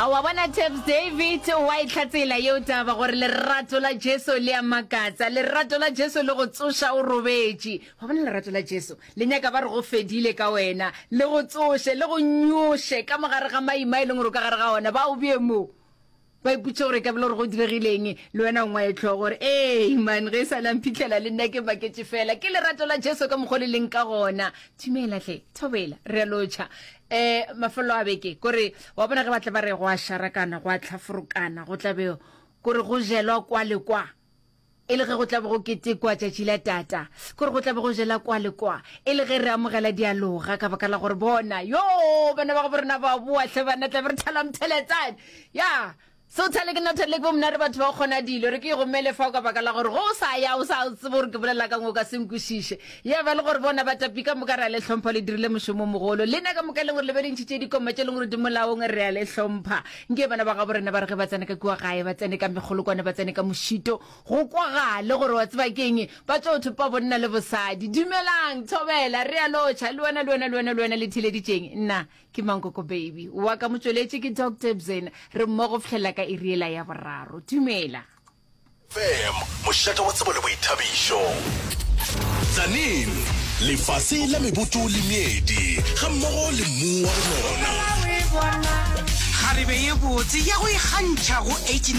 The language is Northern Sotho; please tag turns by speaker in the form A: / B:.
A: A wa bona Taps David wa e hlatsela yeo taba gore lerato la Jesu le a makatsa, lerato la Jesu le go tsoša o robetše. Wa bona lerato la Jesu le nyaka ba re go fedile ka wena, le go tsoše, le go nyoše ka mogare ga maima e leng gore o ka gare ga ona, ba o bee mo. Ba ipotšiša gore e ka be le gore go diregileng, le wena o ngwaye hlogo gore, Ei, man, ge e sa le a mphitlhela le nna ke maketše fela. Ke lerato la Jesu ka mokgwa o le leng ka gona. Dumela hle, thobela, re a lotšha. Um mafelelo a beke, kore wa bona ge ba tla ba re go a šarakana, go a hlaforokana, go tla be kore go jelwa kwa le kwa. E le ge go tla be go ketekwa tšatši la tata, kore go tla be go jela kwa le kwa, e le ge re amogela dialoga ka baka la gore bona, yoo, bana ba gabo rena ba boa hle banna, tla be re thala mtheletsane. Ya, so thale ke nna thale ke bo mna re batho ba go kgona dilo, re ke e gomele fao ka baka la gore ge o sa ya o sa tsebe gore ke bolela kang o ka se nkwešiše. Ya ba le gore bona batapi ka moka re a le hlompha, le dirile mošomo o mogolo. Lena ka moka e leng gore le be le ntšhitše dikoma tše e leng gore di molaong, re a le hlompha. Nke bana ba gabo rena ba re ge ba tsena ka kua gae, ba tsene ka mekgolokwane, ba tsene ka mošito, go kwagale gore wa tseba ke'ng, ba tlo thopa bonna le bosadi. Dumelang, thobela, re a lotšha, le wena, le wena, le wena, le wena le theeleditšeng. Nna ke Mankoko Baby, wa ka motšweletši ke Doctor Bzena, re mmogo go fihlela ka iri yela ya boraro. Dumela.
B: Fm, mošate wa tsebo le boithabišo. Tzaneen, lefase la meboto le meedi, gammogo le mmu wa go nona.
C: Kgarebe ye botse ya go ikgantšha go 89.